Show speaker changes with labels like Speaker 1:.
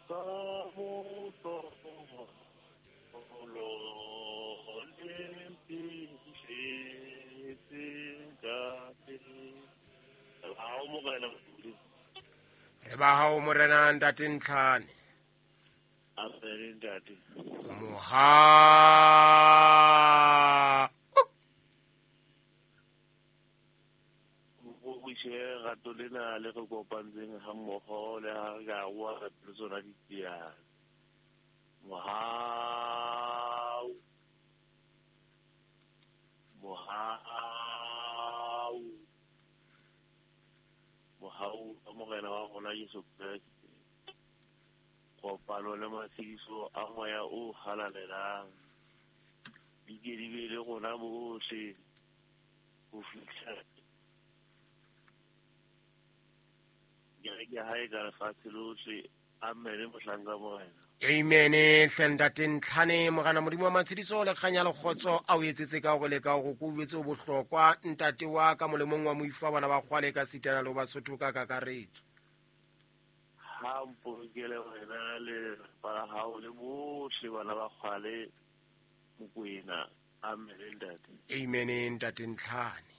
Speaker 1: Ka mohlolo le mphihletseng ka teng. Hao Morena Modimo.
Speaker 2: Re ba hao Morena Ntate Ntlhane.
Speaker 1: Amen ntate.
Speaker 2: Moha.
Speaker 1: Go rato lena le re kopantseng ha mmoho le ha re ka wa re le tsona ditsiyane. Mohau. Mohau. Mohau wa Morena wa rona Jesu Kreste. Kopano le matshediso a moya o halalelang. Di ke di be le rona bohle ho fihla kereke ya hae ka lefatshe lohle. Amen mohlanka Morena.
Speaker 2: Amen hle Ntate Ntlhane. Morena Modimo wa matshediso le kganya le kgotso a o etsetse ka hore le ka hore ko jwetse o bohlokwa ntate wa ka molemong wa moifo wa bana ba kgwale ka sitana le ho Basotho ka kakaretso.
Speaker 1: Ha mpolokele wena le lelapa la hao le bohle bana ba kgwale Mokwena. Amen ntate.
Speaker 2: Amen Ntate Ntlhane.